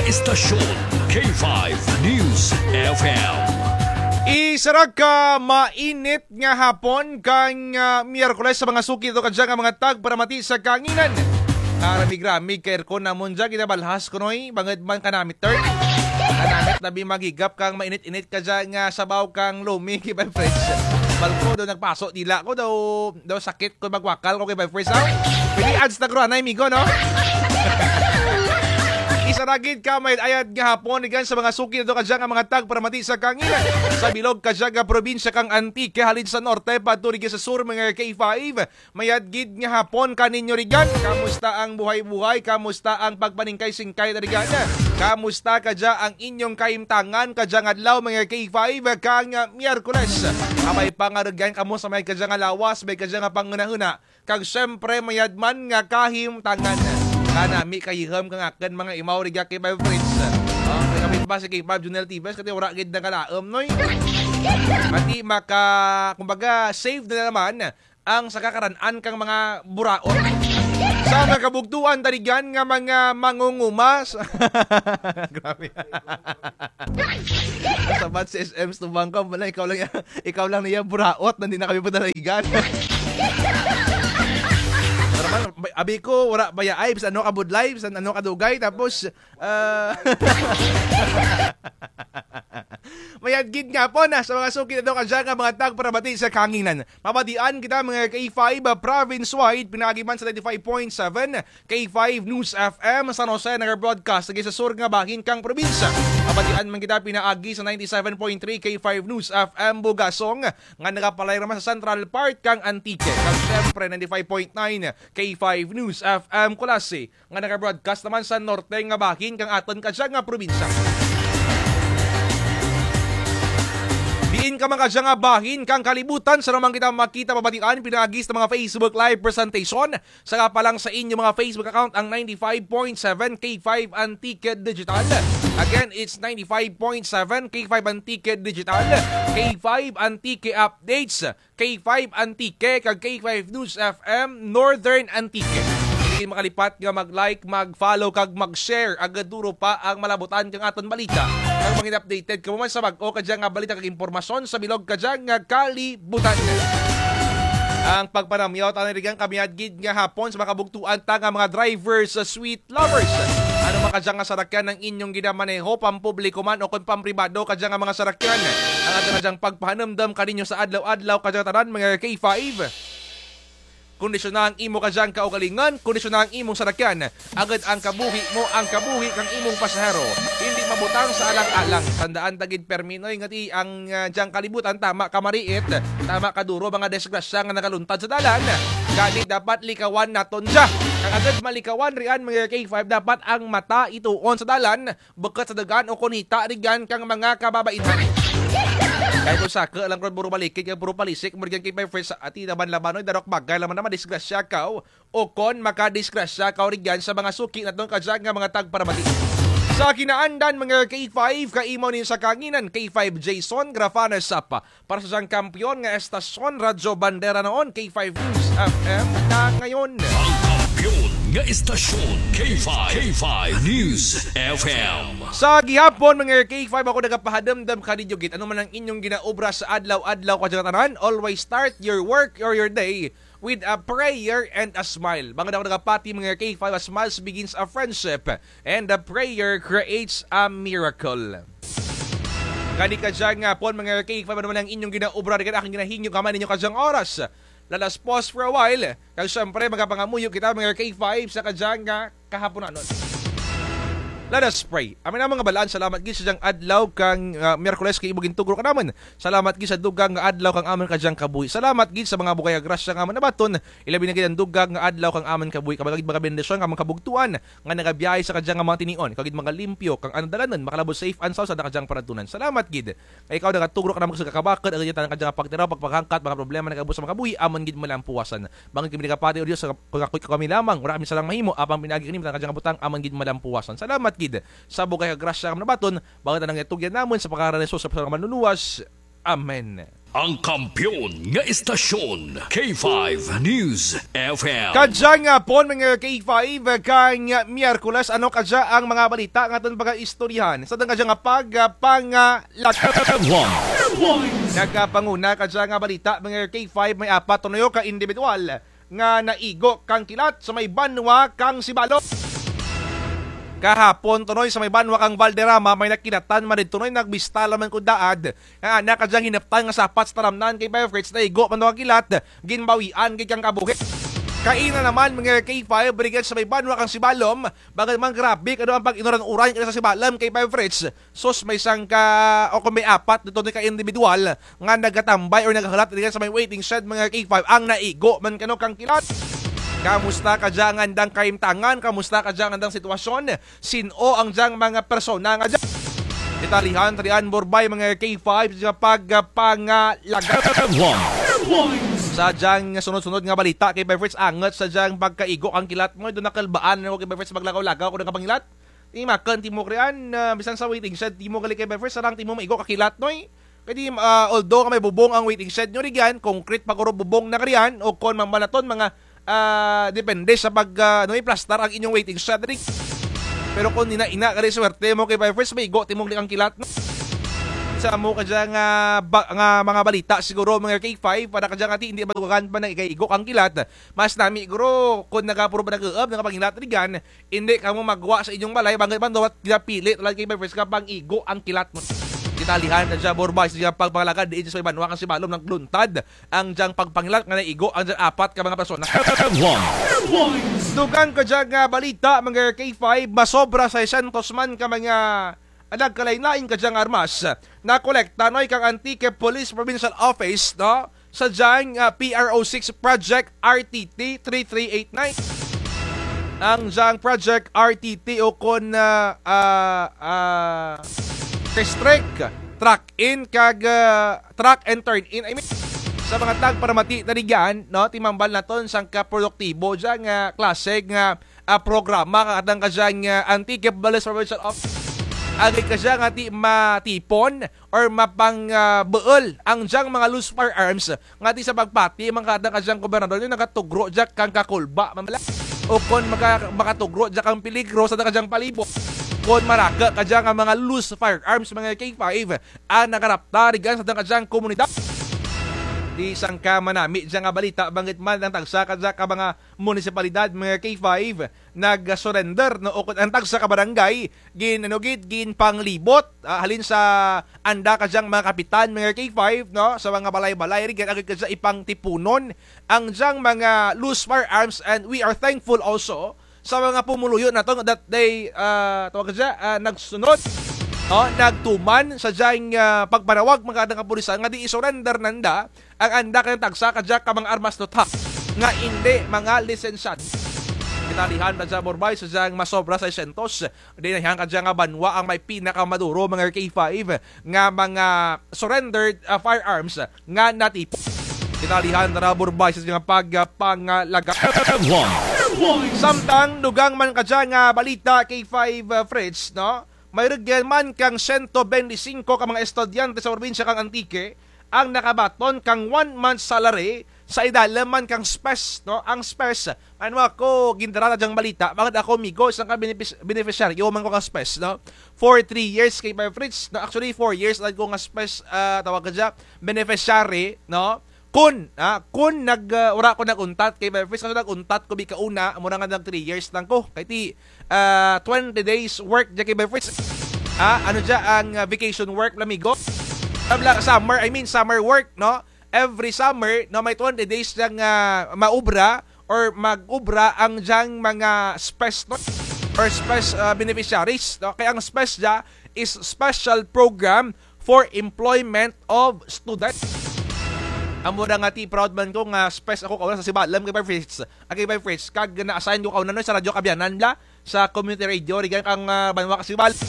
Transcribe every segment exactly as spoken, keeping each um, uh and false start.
Estasyon K five News F M. Isara ka mainit nga hapon kang, ah, Miyerkules sa mga suki nato kadya nga mga tagparamati sa kahanginan. Karamig-ramig ka aircon namon dya, ginabalhas kunoy, bangud man kanamit, Tert. Kanamit labi maghigap kang mainit-init kadya nga sabaw kang lumi, K five Friends. Balko daw nagpaso dila ko, daw, daw sakit ko magwakal ko, K five Friends, aw. Pwede ads na kuro anay, migo, no? Isara gid ka mayad-ayad nga hapon rugyan sa mga suki nato kadya nga mga tagparamati sa kahanginan. Sa bilog kadya nga probinsya kang Antique, halin sa norte, paadto rugyan sa sur, mga K five. Mayad gid nga hapon kaninyo rugyan. Kamusta ang buhay-buhay? Kamusta ang pagpaningkay-singkay na rugyan? Kamusta kadya ang inyong kahimtangan kadyang adlaw, mga K five, kang, ah, Miyerkules? Abay pa nga rugyan kamo sa may kadya nga lawas, may kadya nga panghunahuna. Kag siyempre, mayad man nga kahimtangan. Kanami kayiham kang akun mga imaw rugya, K five Friends. Oh, may kapit ba si K five Junel Tibes? Kati wara gid nakalaom, noy. Mati maka, kumbaga, save na naman ang saka karan-an kang mga buraot. Sa mga kabugtuan ta rugyan nga mga mangunguma. Grabe. Sabat si S M Stubang ka, wala, ikaw lang ya-, ikaw lang niya buraot, nandi na kami padalagan. Pero man, abi ko, wara baya ay, bisan ano ka budlay, bisan ano ka dugay, tapos, ah, mayad gid nga hapon, ah, sa mga suki nato kadya nga mga tagparamati sa kahanginan. Mabatian kita, mga K five, ah, province-wide, pinaagi man sa ninety-five point seven K five News F M San Jose, naga-broadcast lugay sa sur nga bahin kang probinsya. Mabatian man kita pinaagi sa ninety-seven point three K five News F M Bugasong, nga nagapalayo naman sa central part kang Antique. Kag siyempre, ninety-five point nine K five News F M Culasi, nga naga-broadcast naman sa norte nga bahin kang atun kadya nga probinsya. Diin ka man kadya nga bahin kang kalibutan, sara man kita makita, mabatian pinaagi sa mga Facebook Live presentation. Saka pa lang sa inyo mga Facebook account ang ninety-five point seven K five Antique Digital. Again, it's ninety-five point seven K five Antique Digital, K five Antique Updates, K five Antique, kag K five News F M Northern Antique. Di makalipat nga mag-like, mag-follow, kag mag-share. Agud duro pa ang malabutan kang atun balita. Kag mangin updated kamo man sa bag-o kadya nga balita kag impormasyon sa bilog kadya nga kalibutan. Ang pagpanamyaw ta rugyan ka mayad gid nga hapon sa mga kabugtuan ta nga mga drivers, ah, sweet lovers. Ano man kadya nga sarakyan ang inyong ginamaneho, pampubliko man o kon pampribado kadya nga mga sarakyan, ang atun kadyang pagpahanumdum kaninyo sa adlaw-adlaw kadya tanan, mga K five. Kondisyona ang imo kadyang kaugalingon, kondisyona ang imong sarakyan. Agud ang kabuhi mo, ang kabuhi kang imong pasahero indi mabutang sa alang-alang. Tandaan ta gid permi, noy, nga ti ang, ah, dyang kalibutan tama ka mariit, tama ka duro mga disgrasya nga nagaluntad sa dalan. Gani dapat likawan naton dya. Kag agud malikawan riyan, mga K five, dapat ang mata ituon sa dalan, bukut sa dugan o kon hita rugyan kang mga kababaihan. Kay kon saku lang kon puro balikid kag puro palisik mo rugyan, K five Friends, ti laban-laban, noy, darok bagay lang man na madisgrasya kaw o kon makadisgrasya kaw rugyan sa mga suki naton kadya nga mga tagparamati. Sa kinaandan, mga K five, kaimaw ninyo sa kahanginan, K five Jason Grafana Sapa. Para sa dyang kampiyon nga estasyon, Radyo Bandera noon, K five News F M na ngayon. Ang kampiyon nga estasyon, K five, K five News F M. Sa gihapon, mga K five, ako nagapahanumdum kaninyo gid, ano man ang inyong ginaobra sa adlaw-adlaw kadya tanan, always start your work or your day with a prayer and a smile. Bangud ako nagapati, mga K five, a smile begins a friendship, and a prayer creates a miracle. Gani kadya nga hapon, mga K five, ano man ang inyong ginaobra, rugyan akun ginahingyo kamo ninyo kadyang oras. Let us pause for a while. Kag siyempre, magapangamuyo kita, mga K five, sa kadya nga kahaponanon. Let us pray. Amen, among nga Balaan, salamat gid sa dyang adlaw kang, ah, Miyerkules kay imo gintugro kanamun. Salamat gid sa dugang nga adlaw kang amun kadyang kabuhi. Salamat gid sa mga bugay nga grasya nga amun nabaton. Ilabi na gid ang dugang nga adlaw kang amun kabuhi. Kag gid magabendisyon kang amun kabugtuan nga nagabiyahe sa kadya nga mga tinion. Kag gid magalimpyo kang amun dalanon, makalabot safe and sound sa kadyang panagtunan. Salamat gid. Kay ikaw nagatugro kanamun sa kakabakud, agud tanan kadya nga pagtiraw, pagpanghangkat, mga problema nagabus sa mga kabuhi, amun gid malampuwasan. Bangud kami nagapati, O Diyos, sa pagkakuy ka kami lamang, wara kami sarang mahimo, apang pinaagi kami, tanan kadya nga butang, amun gid malampuwasan. Salamat gid sa bugay nga grasya nga amun nabaton, bangud tanan nga itugyan namun sa pangaran ni Jesus, sa Manluluwas. Amen. Ang kampiyon nga istasyon, K five News F M. Kadyang hapon, mga K five, kang Miyerkules, ano kadya ang mga balita nga atun pagaistoryahan? Sa atun kadya nga pag, ah, pang, ah, lag-, Headlines. Nagapanguna kadya nga balita, mga K five, may apat tunoy ka indibidwal nga naigo kang kilat sa may banwa kang Sibalom. Kahapon tunoy sa may banwa kang Valderrama, may nakilatan man didto tunoy, nagbista lamang ko daad. Ah, ana kadyang hinaptan nga sapat sa taramnan kay Fire Fritz, naigo man daw kang kilat, ginbawian gid kang kabuhi. Kaina naman, mga K five, rugyan sa may banwa kang Sibalom, bangud man grabe kadto ang pag-inuran-uran kadto sa Sibalom kay Fire Fritz. Sus, may sangka, o kon may apat didto tunoy ka indibidwal nga nagatambay or nagahulat rugyan sa may waiting shed, mga K five, ang naigo man kuno kang kilat. Kamusta kadya ang andang kahimtangan? Kamusta kadya ang andang sitwasyon? Sin-o ang dyang mga persona nga dya? Detalyehan ta rugyan burbay, mga K five, sa pagpangalaga. Headlines. Sa dyang sunod-sunod nga balita kay Fire Fritz, angut sa dyang pagkaigo kang kilat mo, dya nakalbaan ako kay Fire Fritz, maglakaw-lakaw ako nga pangilat. Ti makun timo rugyan, ah, bisan sa waiting shed timo gali kay Fire Fritz, sarang timo maigo ka kilat, noy. Kay ti, ah, although nga may bubong ang waiting shed nyo rugyan, concrete pa guro bubong na rugyan, o kon mambal natun, mga, ah, depende sa pag, ah, ano, iplastar ang inyong waiting shed, rig. Pero kon ina-ina gali swerte mo kay Fire Fritz, maigo timo gali kang kilat, no? Sa amo kadya nga, ba-, nga mga balita siguro, mga K five, para kadya nga ti indi madugangan pa nga ikaigo kang kilat, mas nami guro kon nagapuro ba nag-uub, nagapangilat rugyan, indi kamo magwa sa inyong balay, bangud man daw ginapili talaga kay Fire Fritz nga pang-igo ang kilat mo. Detalyehan ta dya burbay sa dyang pagpangalaga diin sa may banwa kang Sibalom, nagluntad ang dyang pagpangilat nga naigo ang dyang apat ka mga persona. Headlines. Dugang kadya nga balita, mga K five, masobra sa seiscientos man ka mga nagkalain-lain kadya nga armas nakolekta, noy, kang Antique Police Provincial Office, no? Sa dyang, ah, P R O six Project R T T three three eight nine. Ang dyang Project R T T o kon, ah, ah, ah, restrict, track in kag, ah, track and turn in, I mean, sa mga tagparamati na rugyan, no, ti mambal natun sangka produktibo dya nga klase nga, ah, programa kang atun kadyang, ah, Antique Police Provincial Office. Agud kadya nga ti matipon or mapang, ah, buul ang dyang mga loose firearms nga ti sa pagpati man kang atun kadyang gobernador, ti nagatugro dya kang kakulba, mambal. O kon maka-, makatugro dya kang peligro sa atun kadyang palibot. Kon maraku kadya nga mga loose firearms, mga K five, ang nagarapta rugyan sa atun kadyang komunidad. Ti sangka manami dya nga balita, bangud man ang tagsa kadya ka mga munisipalidad, mga K five, nag-surrender, no, o kon ang tagsa ka barangay, gin-, ano gid, ginpanglibot, ah, halin sa anda kadyang mga kapitan, mga K five, no, sa mga balay-balay rugyan, agud kadya ipangtipunon ang dyang mga loose firearms, and we are thankful also sa mga pumuluyo natun that they, ah, tawag kadya, ah, nagsunod, no, nagtuman sa dyang, ah, pagpanawag man kang atun kapulisan nga ti i-surrender nanda ang anda kadyang tagsa kadya ka mga armas nanda nga indi mga lisensyado. Detalyehan ta dya burbay sa dyang masobra sa seiscientos, diin na dyang kadya nga banwa ang may pinakamaduro, mga K five, nga mga surrendered, ah, firearms nga natipon. Detalyehan ta dya burbay sa dyang pagpangalaga. Headlines. Samtang dugang man kadya nga balita, K five, ah, Fritz, no? May rugyan man kang siyento bente singko ka mga estudyante sa probinsya kang Antique ang nakabaton kang one month salary sa idalum man kang SPES, no? Ang SPES, ano, ako, gindara ta dyang balita, bangud ako, migo, sangka benefis-, beneficiaryo man ko kang SPES, no? For three years kay Fire Fritz, no? Actually, four years lang ko nga SPES, ah, tawag kadya, beneficiary, no? Kon, ah, kon nag, ah, wara ko nag-untat kay Fire Fritz, kaso nag-untat ko bi kauna, amo ra nga nag three years lang ko. Kay ti, ah, twenty days work dya kay Fire Fritz. Ah, ano dya ang, ah, vacation work, amigo? Tabla, summer, I mean, summer work, no? Every summer, no, may twenty days dyang, ah, maubra or mag-ubra ang dyang mga SPES, no? Or SPES, ah, beneficiaries, no? Kay ang SPES dya is Special Program for Employment of Students. Amo ra nga ti proud man ko nga SPES ako kauna sa Sibalom kay Fire Fritz. Ah, kay Fire Fritz, kag na-assign ko kauna, no, sa Radyo Kaabyanan bala, sa community radio, rugyan kang, ah, banwa kang Sibalom.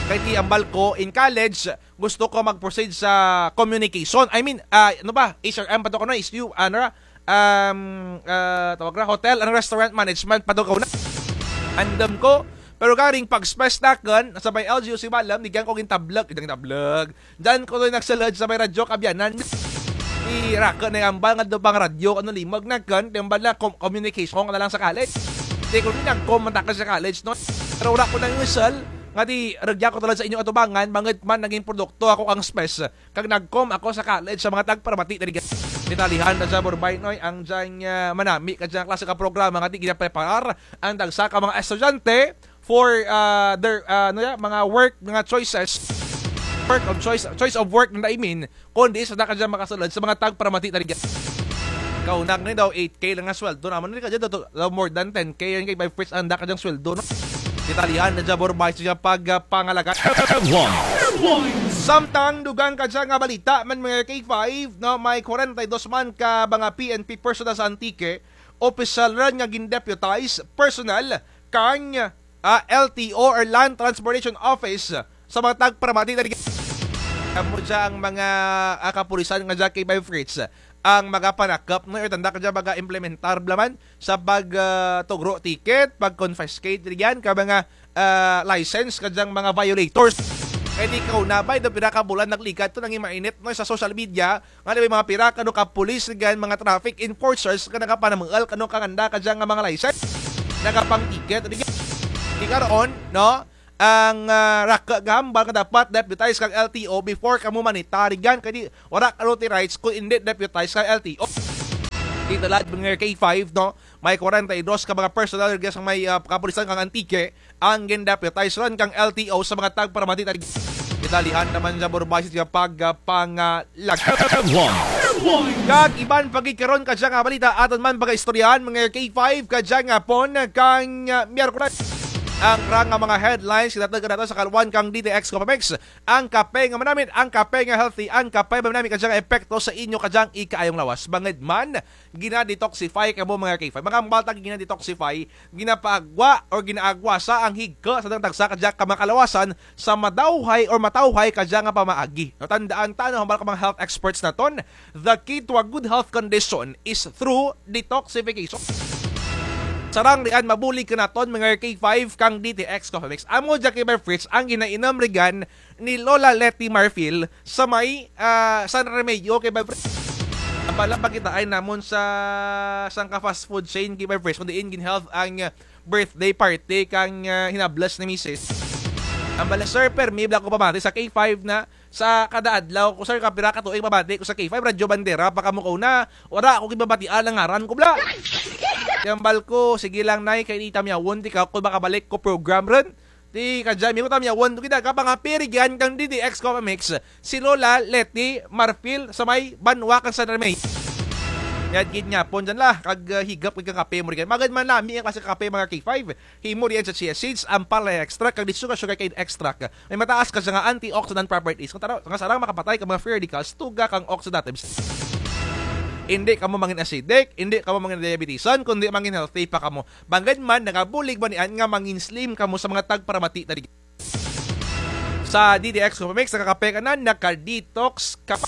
Kay ti ambal ko, in college, gusto ko mag-proceed sa communication. I mean, ah, ano ba? H R M pa to ko, no? Is you, ano ra? Um, ah, tawag ra, hotel and restaurant management pa to ko na. Andam ko. Pero karing pag-SPES nakun, sa may L G U Sibalom, rugyan ko gintablag, gintablag. Dyan ko to nagsulud sa may Radyo Kaabyanan. Ti raku na hambal nga daw pang radyo, ano, limog na kun, ti hambal na com-, communication ka na lang sa college. Ti kun nag-com man ta ka sa college, no? Pero wara ko nangusol, nga ti rugya ko tulad sa inyo atubangan, bangud man nangin produkto ako kang Spes. Kag nag-com ako sa college sa mga tagparamati na rugya. Detalyehan na dya, Borbay, no? Ang dyang, ah, manami ka dyang klase ka programa nga ti ginapreparar ang tagsa ka mga estudyante for, ah, their, ah, ano ya, mga work, mga choices. Work of choice, choice of work na I mean, kundi sa daka dyan makasulod sa mga tagparamati na rugya. Kaunak ni daw eight K lang nga sweldo naman. Hindi ka dyan daw, daw more than ten K yan kay by first ang daka dyang sweldo, no? Detalyehan na dyan, Borbay, sa dyan pag, ah, pangalaga. Samtang dugang ka dyan nga balita man mga K five, no? May kwarenta y dos man ka mga P N P personnel sa Antique, opisyal run nga gin-deputize personnel kang ah, L T O or Land Transportation Office sa mga tagparamati na rugya. Amo dya ang mga, ah, kapulisan nga dya kay by Fritz ang magapanakup, no, or tanda ka dya mag-implementar bala man sa pag, ah, tugro ticket, pag-confiscate rugyan ka mga, ah, license ka dyang mga violators. Kay ti kauna bay, daw pira ka bulan nagligad to, nangin mainit, no, sa social media, nga may mga pira kano ka pulis, rugyan mga traffic enforcers nga nagapanamuul kano kang anda ka dyan nga mga license. Nagapang-ticket, rugyan. Ti karon, no? Ang, ah, raku nga hambal nga dapat deputize kang L T O before kamo manita, rugyan. Kay ti wara kano ti rights kun indi deputize kang L T O. Ti tulad mga K five, no? May kwarenta y dos ka mga personnel rugyan sa may, ah, kapulisan kang Antique, ang gin-deputize run kang L T O sa mga tagparamati na rugya. Detalyehan naman dya, Borbay, sa pag, ah, pangalag. Kag iban pa gid karon ka dyan nga balita, atun man pagaistoryahan, mga K five, ka dyan nga hapon kang, ah, Miyerkules. Ang ra nga mga headlines, kinatag nato sa kalwan kang D T X Coffee Mix. Ang kape nga manamit, ang kape nga healthy, ang kape nga manamit ka dyan nga epekto sa inyo ka dyan ikaayong lawas. Bangud man, gina-detoxify kamo mga K five. Mga balta gina-detoxify, ginapaagwa or ginaagwasa ang higko sa tagsa ka dyan ka mga kalawasan sa madawhay or matawhay ka dyan nga pamaagi. No, tandaan ta, no, hambal ka mga health experts naton, the key to a good health condition is through detoxification. Sarang riyan, mabulig kanaton mga K five kang D T X Coffee Mix. Amo dya kay Bev Fritz ang ginainom rugyan ni Lola Letty Marfil sa may, ah, San Remigio kay Bev Fritz. Ang pala pakitaan namon sa sangka fast food chain kay Bev Fritz, kun diin gin-held ang, ah, birthday party kang, ah, hinables ni misis. Ang bala, sir, permi bala ko pamati sa K five na sa kada adlaw ko, sir, kapira ka tuig pamati ko sa K five, Radyo Bandera, pa kamo ko na, wara ko gibabatian ang ngaran ko bala. Ti hambal ko, sige lang, Nay, kay di tamyawon ti ka, kun makabalik ko program run. Ti kadya, amigo, tamyawon to kita, kapangape rugyan kang D T X Coffee Mix, si Lola Letty Marfil sa may banwa kang San Remigio. Mayad gid nga hapon dyan la, kag, ah, higop gid kang kape mo rugyan. Magad man lami ang klase kape, mga K five. Himo rugyan sa chia seeds, ampalaya extract, kag di sugar, sugarcane extract. May mataas ka dyan nga antioxidant properties. Nga tara-, nga sarang makapatay ka mga free radicals, tuga kang oxidatives. Indi kamo mangin acidic, indi kamo mangin diabetisan, kundi mangin healthy pa kamo. Bangud man, nagabulig man niyan nga mangin slim kamo sa mga tagparamati na rugyan. Sa D T X Coffee Mix, nakakape ka na, naka-detox ka pa.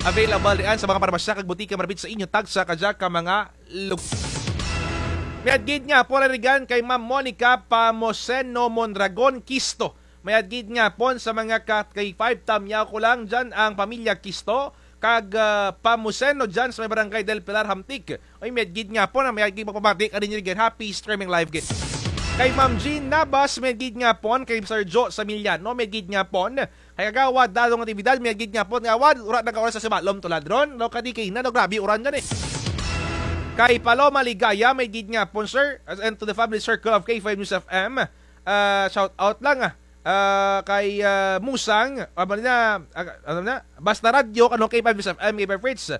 Available riyan sa mga parmasya kag butika malapit sa inyo, tagsa ka dyan ka mga lugar. Mayad gid nga hapon rugyan kay Ma'am Monica Pamoseno Mondragon Quisto. Mayad gid nga hapon sa mga ka-, K five, tamyaw ko lang dyan ang pamilya Quisto kag, ah, Pamuseno dyan sa may barangay Del Pilar, Hamtic. Oy, mayad gid nga hapon, ah, mayad gid pamati kaninyo rugyan. Happy streaming live gid. Kay Ma'am Jean Nabas, mayad gid nga hapon. Kay Sir Joe Samiliano, mayad gid nga hapon. Kay Kagawad Dadong Natividad, mayad gid nga hapon. Kagawad, wara na ka oras sa sibalom, tulad ron. No, kadi kay na, no, grabe uran dyan eh. Kay Paloma Ligaya, mayad gid nga hapon, sir. And to the family circle of K five News F M. Ah, shout out lang, ah. Ah, kay, ah, Musang, ah, ano na, ah, ano na, Basta Radyo, kano kay Pablo F M, kay Fritz.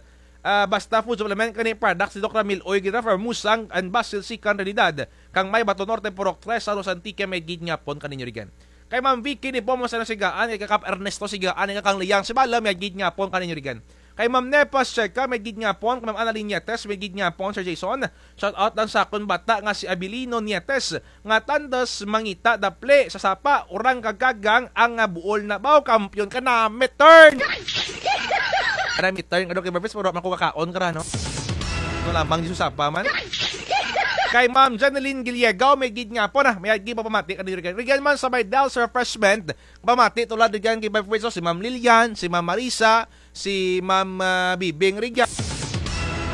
Ah, Basta Food Supplement, kani products ni Doc Ramil Oy, kita for Musang and Basil Sikan Realidad. Kang may Bato Norte, Purok tres, San Jose Antique, mayad gid nga hapon kaninyo rugyan. Kay Ma'am Vicky ni Pomo sa Sigaan, kay Kap Ernesto Sigaan, kay kang Liyang Sibala, mayad gid nga hapon kaninyo rugyan. Kay Ma'am Nepas Cheka, mayad gid nga hapon. Kay Ma'am Annalyn Nietes, mayad gid nga hapon, Sir Jason. Shout out lang sa akon bata nga si Abilino Nietes, nga tandos mangita dapli sa sapa, urang kag kagang ang nga buol na baw, kampiyon ka na, midterm! Ana, midterm, ano kay Barfis, pero man ko kakaon ka ra, no? Ano lamang, Diyos, sapa man. Kay Ma'am Janeline Giliagaw, mayad gid nga hapon, ah, mayad gid pagpamati kaniyo rugyan. Rugyan man sa may Del's Refreshment, pamati tulad rugyan kay Vice Preso, si Ma'am Lilian, si Ma'am Marisa, si Ma'am, ah, Bibing rugyan.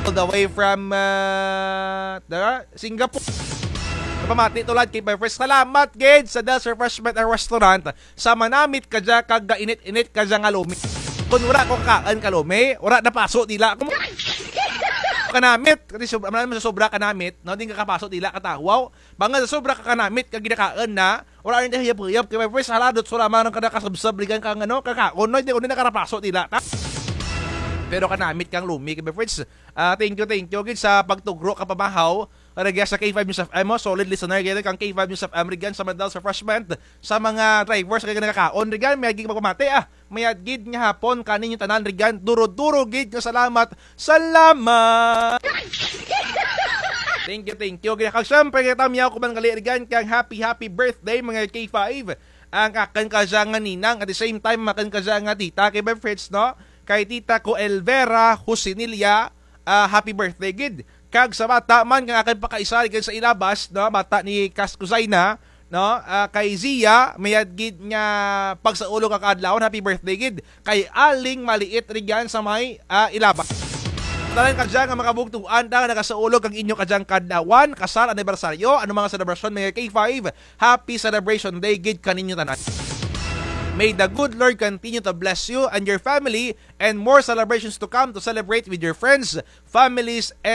All the way from, ah, the Singapore. Pamati tulad kay Vice Preso. Salamat gid sa Del's Refreshment and Restaurant. Sa manamit kadya kag gainit-init kadya nga lumi. Kon wara ko kakaan ka lumi, wara napaso dila ko. Kanamit, kay sobra, sobra kanamit, no, di kakapaso dila katawaw. Bangud sa sobra ka kanamit kag ginakaon na, wara run ti huyop-huyop, kay Vice Preso, hala, dutso lamang run kada kasabsab rugyan kang ano, kakaon, no, di ko run nakarapaso dila ta. Pero kanamit kang lumi, kay Vice Preso, ah, thank you, thank you gid sa pagtugro kang pamahaw. Rugya sa K five News F M, oh, solid listener gid kang K five News F M rugyan sa may Del's Refreshment, sa mga drivers kag nagakaon rugyan, mayad gid pagpamati, ah. Mayad gid nga hapon kaninyo tanan rugyan, duro-duro gid nga salamat. Salamat! Thank you, thank you. Kag syempre, kay tamyaw ko man gali rugyan kang happy, happy birthday, mga K five. Ang akun kadya nga ninang, at the same time, akun kadya nga tita, kay Vice Preso, no? Kay Tita ko Elvera Husinilla, ah, happy birthday gid. Kag sa bata man, kang akun pakaisa rugyan sa Ilabas, no? Bata ni Kas Kuzaina, no? Ah, kay Zia, mayad gid nga pagsaulog kang kaadlawan, happy birthday gid. Kay Aling Maliit rugyan sa may, ah, Ilabas. Tanan kadya nga mga kabugtuan ta nga nagasaulog kang inyo kadyang kaadlawan, kasal, anibersaryo, ano mga selebrasyon, mga K five, happy celebration day gid kaninyo tanan. May the good Lord continue to bless you and your family and more celebrations to come to celebrate with your friends, families, and